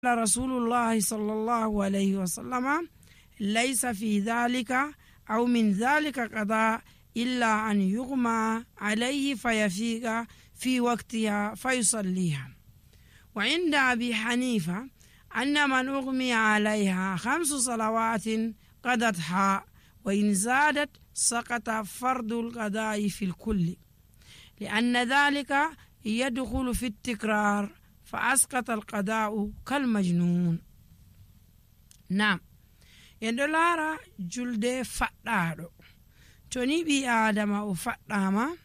rasulullahi sallallahu alayhi wa sallama laysa fi dhalika aw min dhalika qada illa an yughma alayhi fayafiqa fi waqtiha fayusalliha. wa inda abi hanifa anna man ughmiya alayha 5 salawatin qadatha wa in zadat saqata fardul qada'i fil kulli li'anna dhalika yadkhulu fi at-tikrar فأسقط القضاء كالمجنون. نعم يندو لارا جلد فدادو توني بي آدم او فداما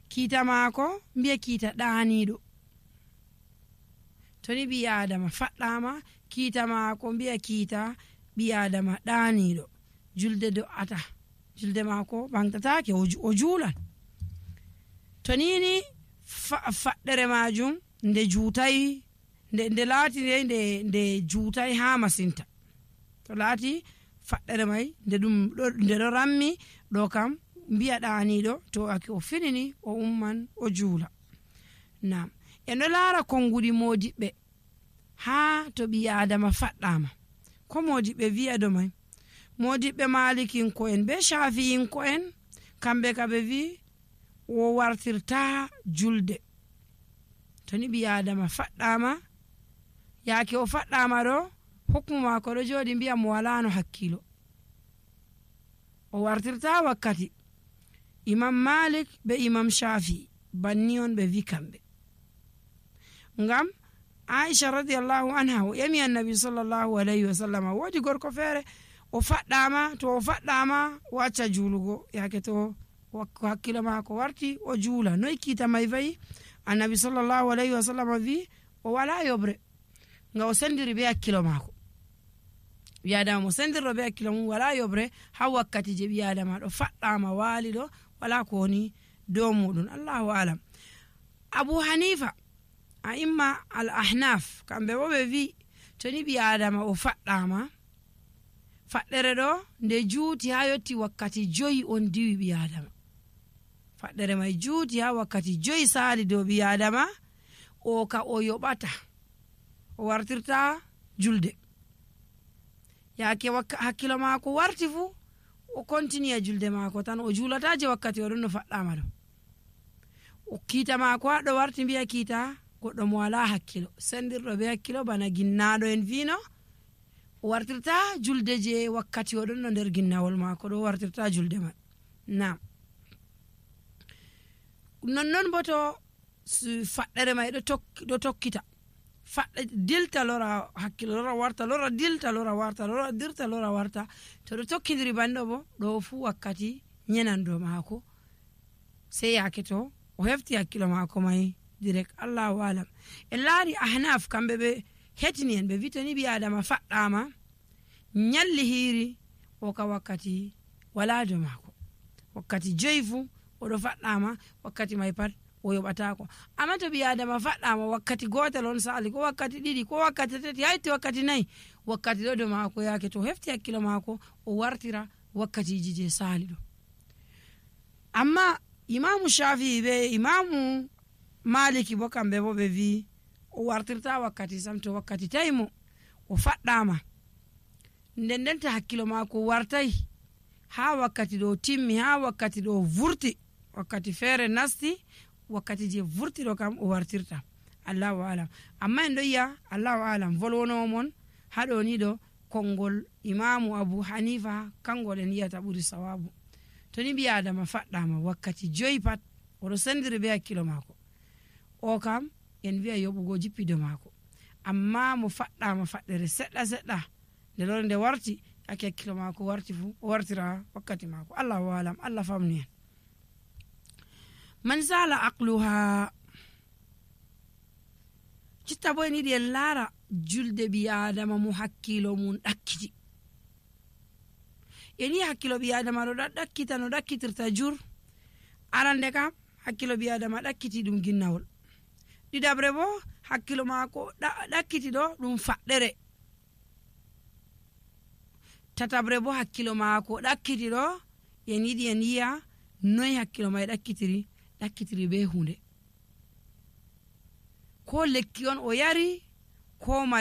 كيتا ماكو بي كيتا دانيدو توني بي آدم فداما كيتا ماكو بي كيتا بي آدم دانيدو جلد دو أتا جلد ماكو بانتتاكي وجولا تونيني فدر ماجون nde juutai nde laati nde juutai ha masinta to laati faddere mai nde do rammi do kam biya daanido to ake o finini o umman o juula. Nam en do laara kongudi modibbe ha to bi adama faddama ko modibbe wi'a do mai modibbe malikin ko en be shafi'in ko en kambe kabe wi o wartirta julde toni bi adama faddama yaake o faddama do hukmu mako do jodi biya mo walano hakkilo o wartirta wakkati. imam malik be imam shafi banni on be vikambe ngam aisha radiyallahu anha o yami annabi sallallahu alayhi wasallam wodi gorko fere o faddama to o faddama wacca julugo yaake to hakkilo mako warti o juula noy kita mai vai annabi sallallahu alayhi wa sallam vi o wala yobre nga o sendiri be hakkilo mako wi'adama mo sendiro be hakkilo mum wala yobre ha wakkati je wi'adama do faddama wali do wala ko woni do mudun. Allahu alam. abu hanifa a imma al ahnaf kambe bo be vi toni wi'adama o faddama faddere do nde juuti ha yotti wakkati 5 on diwi wi'adama faddere mai juuti ha wakkati 5 saali do bi adama o ka o yobata o wartirta julde yaake hakkilo mako warti fu o continue julde mako tan o julata je wakkati o don faddama do o kita mako do warti biya kita goddo mo wala hakkilo sendirdo be hakkilo bana ginnado en vino o wartirta julde je wakkati o don nder ginnawol mako do wartirta julde man. Naam non boto faddere mai do tokkita fadde dilta lora hakkilo lora warta lora dilta lora warta lora dirta lora warta to do tokkidiri bando bo do fu wakkati nyenando mako sai yake to o hefti hakkilo mako mai direct. Allahu alam. en laari ahnaf kambe be hetini en be vitani bi adama faddama nyalli hiri o ka wakkati wala do mako wakkati joyfu o do faddama wakkati mai pat o yobata ko amma to bi adama faddama wakkati gotel on sali ko wakkati didi ko wakkati tati hayti wakkati nay wakkati do mako yake to hefti hakkilo mako o wartira wakkati je sali do. amma imamu shafi be imamu maliki bo kambe bo be vi o wartirta wakkati samto wakkati taymo o faddama ndendenta hakkilo mako wartai ha wakkati do timmi ha wakkati do vurti wakkati fere nasti wakkati je vurti do kam o wartirta. Allahu alam. amma en do ya Allahu alam volwono mon hado ni do kongol imamu abu hanifa kangol en yata buri sawabu toni bi adama faddama wakkati 5 pat o do sendiri be hakkilo mako o kam en wi'a yobugo jippido mako amma mo faddama faddere sedda nde lore nde warti ake hakkilo mako warti fu o wartira wakkati mako. Allahu alam. Allah famni. man zala aqluha citta boy ni de lara julde bi adama mu hakkilo mun dakkiti eni hakkilo bi adama do dakkita no dakkitirta jur arande kam hakkilo bi adama dakkiti dum ginnawol didabre bo hakkilo mako dakkiti do dum faddere tatabre bo hakkilo mako dakkiti do eni di eniya noy hakkilo may dakkitiri be hunde ko lekki on o yari ko